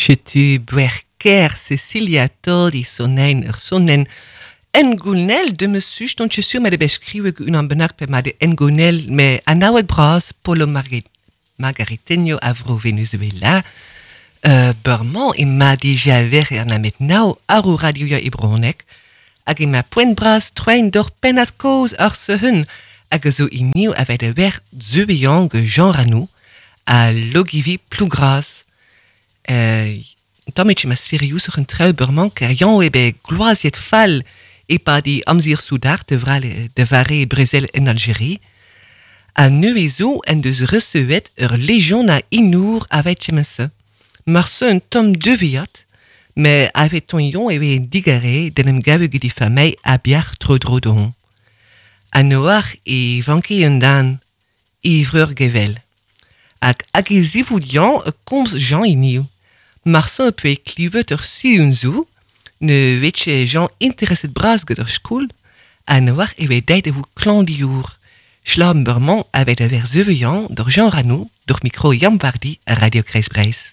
Chetu buerker Cecilia Todi sonein ur sonen engounel de me such don chesu ma de beskriwe unan bennak pe ma de engounel me anaouet bras Polo Margariteño avro Venezuela. Beurmañ ema dija ver er namet nao ar radio ya e bronek hag ema poent bras troen d'ur pennad koz ar sehun hag a zo iniv avet a wer zeubian ge Jean Ranou a logivi plougras. Tamm ma serious ur un treu beurmañ ker yan eo bet gloaziet fall e di amzir soudard de, vrale, de vare brezel en Algérie. A neuze zo en deus receuet ur legion a inour avet chemense. Mar se un tom deviat, me avet ton yon eo digare den em gave gedi famei a biar tro dro dohon. A noar e vanke un dan, e vreur gevel. Hag hag e zivoudian e komz Jean iniv. Mar se pe klivet ur siun zo, ne vetche Jean intereset bras get ur skoul, a noar e ve deit e vou klandiour. Schlam beurmañ avet a ver zeuvian d'ur Jean Ranou, d'ur micro Yam Vardi a Radio Kreiz Breiz.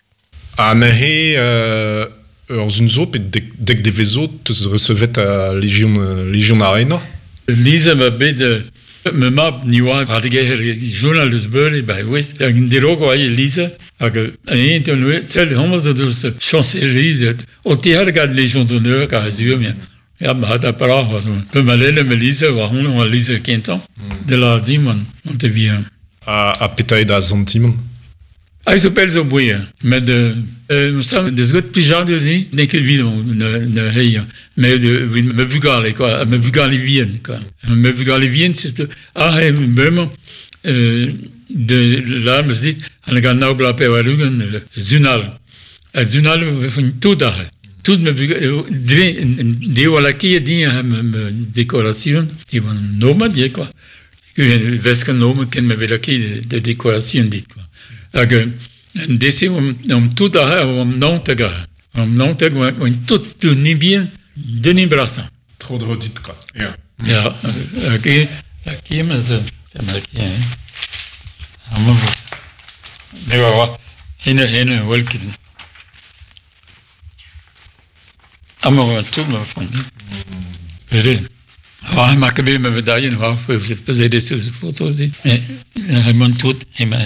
A neuze ur zun zo pe dek de vezo teus recevet a Legion Arena. Lise ma bet me mab ni oa a degeher journal deus beure ba west hag en derogo ai Lise hag een en we tel hommes deus chancellerie o ti har gad Légion d'honneur ka zur mir. Ja, ma da para was pe ma lele me Lise war hon oa Lise kentan de la dimon on te vient. A petae da sentiment. A zo pel zo bouye, met ça deus got plijadur di, n'eo ket vid ne heiñ, met me bugale quoi, me bugale vihan quoi. Me bugale vihan c'est ah he bremañ de la meus dit an gant nao bla pe war-ugent zunal. A zunal vont tout ar. Tout me bugale dre deo a lakie din me décoration, di bon nomad quoi. Vesken nomen ken me velakie de décoration dit quoi. Hag en dese om tout ar om naonteg ar. Om naonteg oan tout du nibien de nimbrasan. Tro dro dit quoi. Ja. Ja, hag e hag e ma zo ma ki hein. Am ne wa hene hene welket. Am wa tout ma famille. Vere. Ah, ma ket bet ma medaillen war peus des photos dit. Mais hemon tout hema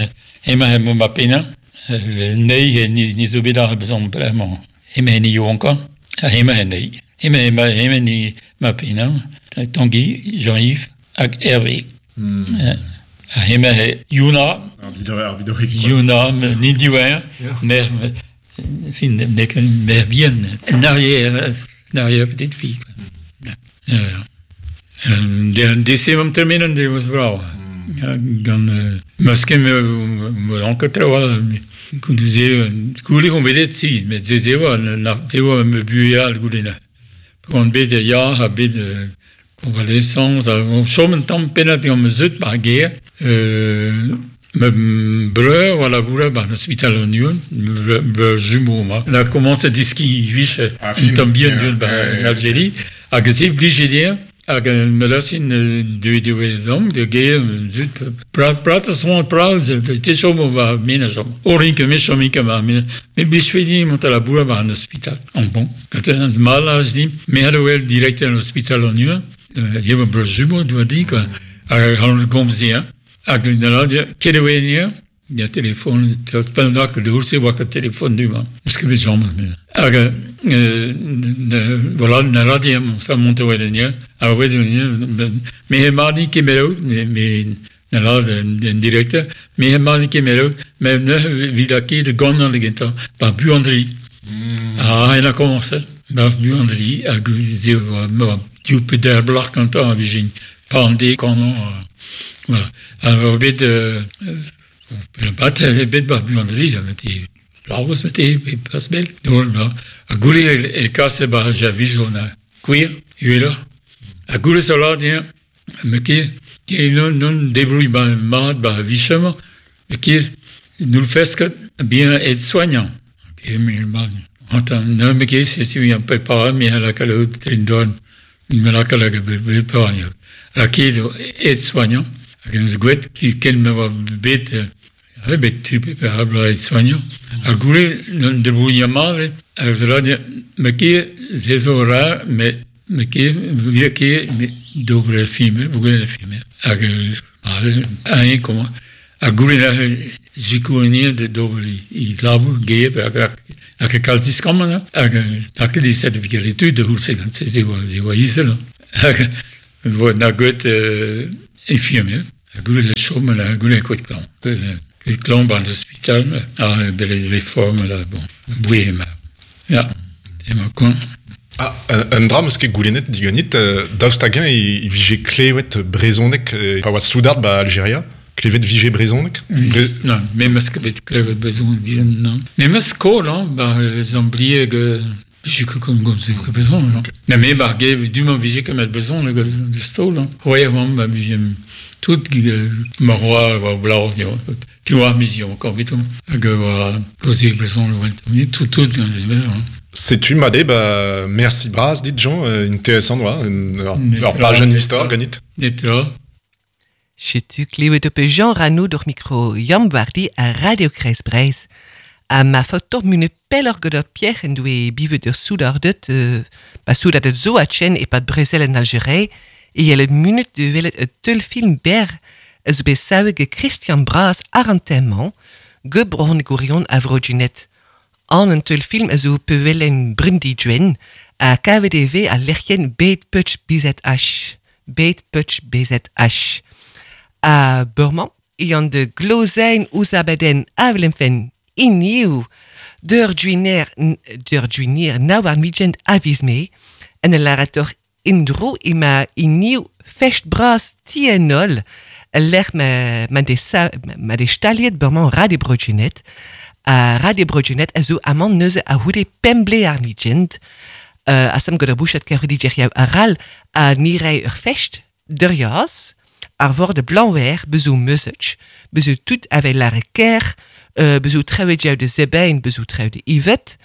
hema hemo ma pena. Nee, ni ni zo bet ar bezon bremañ. Hema ni jonka. Hema nee. Hema hema hema ni ma pena. Tanguy, Jean-Yves hag Hervé. Hema he Yuna. Yuna, ni diwer. Mer fin nek mer bien. En arrière, en arrière petite fille. Ja, ja. De am terminen de was brau. Gant meus ket me anket tro goude goude on bet si met ze ze oa na ze oa me bueal goude na. Gant bet ya ha bet convalescence a chom un tamm pennad gant me zeut bar ger me breur war laboura bar l'hospital an uon me jumeau ma. La commence a diski vich un tamm bien duen bar Algérie hag se blije dir hag me lasin de de zom de ger zut prat prat son prat te chom va mena chom orin ke me chom ke ma me me blij fe mont a laboura bar an hospital en bon quand un mal a dit me ha wel directeur l'hospital an uon je breur jumeau doa di quoi hag han gomz hag na la ket e oa ya telefon pendant que de ourse oa ket telefon du ma eus ket bet jom hag voilà na la di sa monte oa den a oa me he marni kemerout me na la den directeur me he marni kemerout me ne vid a ket gant an gentañ ba buandri ah il a commencé ba buandri hag ze oa diou peder blach gantañ a vijin pande kanon voilà a bet bat bet ba buandri a meti blavos meti pas bel don a goule e kase ba javijo na queer uela a goule sola dia me ki ki non non débrouille ba mat ba vichement me ki nous le fait bien être soignant et mais attends non me ki c'est si un peu mais à la calo trindon me la calo préparé la ki être soignant hag en gwet ki ken me oa bet bet tu pe ar bloaz soignant. A goule, de bouillama, a zela me ket se zo ra, me ket, me ket, me d'ober filmer, bougen filmer. Hag un comment a goule la jikournie de d'ober i labour ge hag hag kalz diskamman hag hag di certificat l'étude de houl se se se oa izel. Hag vo na goet infirmier. A goule la chôme la goule ket klan. Ket klan ban hospital a bele réforme la bon. Boué ma. Ja, ema kon. Ah, un dra meus ket goulennet diganit, daoust hag-eñ e vije klevet brezhoneg, pa oa soudard ba Algeria, klevet vije brezhoneg? Bre Non, me meus ket bet klevet brezhoneg digan, non. Me meus skol, hein, ba zamblie vije ket kon gomze ket brezhoneg. Okay. Na me bar ge, du man vije ket met brezhoneg de stol, hein. Ouais, oan, ba vije tout ma roa oa blau, yo. Tu vois, mission encore vite. Hag oa gomze brezhoneg, tout tout gant brezhoneg. Setu made, ba, merci bras, dit Jean, intéressant, oa, ur pajenn istor ganit. Netra. Setu klevet op Jean Rano door micro Jan Wardi a Radio Kreiz Breizh. A ma fotor mune pellor gant ur Pierre en doe bivet ur soudardet, ba soudardet zo a chen e pad brezel en Algerei, e yelle munet de welet e teulfilm ber eus bet savet ge Christian Bras ar an temman, ge brohon gourion a Vroginet. An un teulfilm a zo pewelen brindi dwen, a KVDV a lec'hien bet putsch BZH. Bet putsch BZH. A Burman, e an de glozein ouz abaden avelemfen iniu deur duiner nou ar midgent avisme, en el larator indro ima iniu fest bras tienol, lec'h ma de sa, ma de staliet Burman radio brogenet, a radio brogenet a zo amant neuze a houde pemble ar midgent, a sam gant ar bouchat kerodi djeriaou aral a nirei ur fest der jas, ar vor de blanwer bezou meusech, bezou tout avec la reker, bezou trouwe jou de zebein, bezou trouwe de Yvette,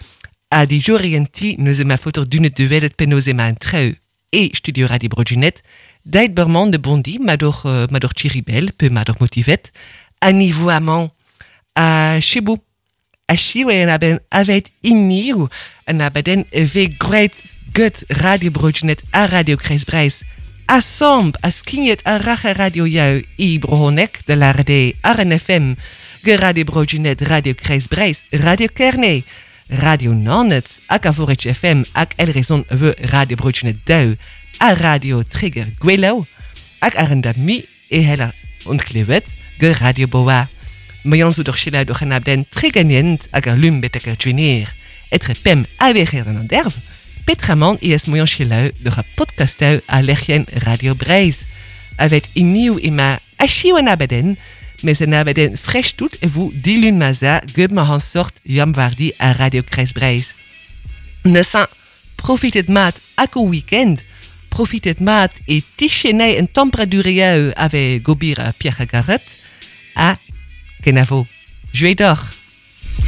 a di jorienti neuze ma fotor dunet de welet penoze ma een trou e studio Radio Brogenet, deit berman de bondi, ma door, ma door Chiribel, pe ma door motivet, a niveau amant, a chebou, a chiwe en aben avet iniu, en abaden ve great gut Radio Brogenet a Radio Kreis Breizh. Assemb a skignet a rache radio jou i brohonek de la RD RNFM, ge Radio Brogenet, Radio Kreis Breizh, Radio Kerne, Radio Nanet, ak a Vorich FM, ak El Rezon we Radio Brogenet deu, a Radio Trigger Gwelo, ak ar da mi e heller ontklevet, ge Radio Boa. Ma jan zo door chila door een abden triggenient hag ar lum betek ar djuneer. Etre pem a weger an derv, Petraman is moyan chila door a podcastau a lec'hien Radio Breizh. Avet iniu ima achiu an abaden, mes an abaden fresh tout e vous dilun maza gub ma han sort jam wardi a Radio Kreis Breizh. Neusa, profitet mat ak o weekend, profitet mat e tichenei en temperature ave gobir a Pierre Garet, a kenavo. Jouez d'or.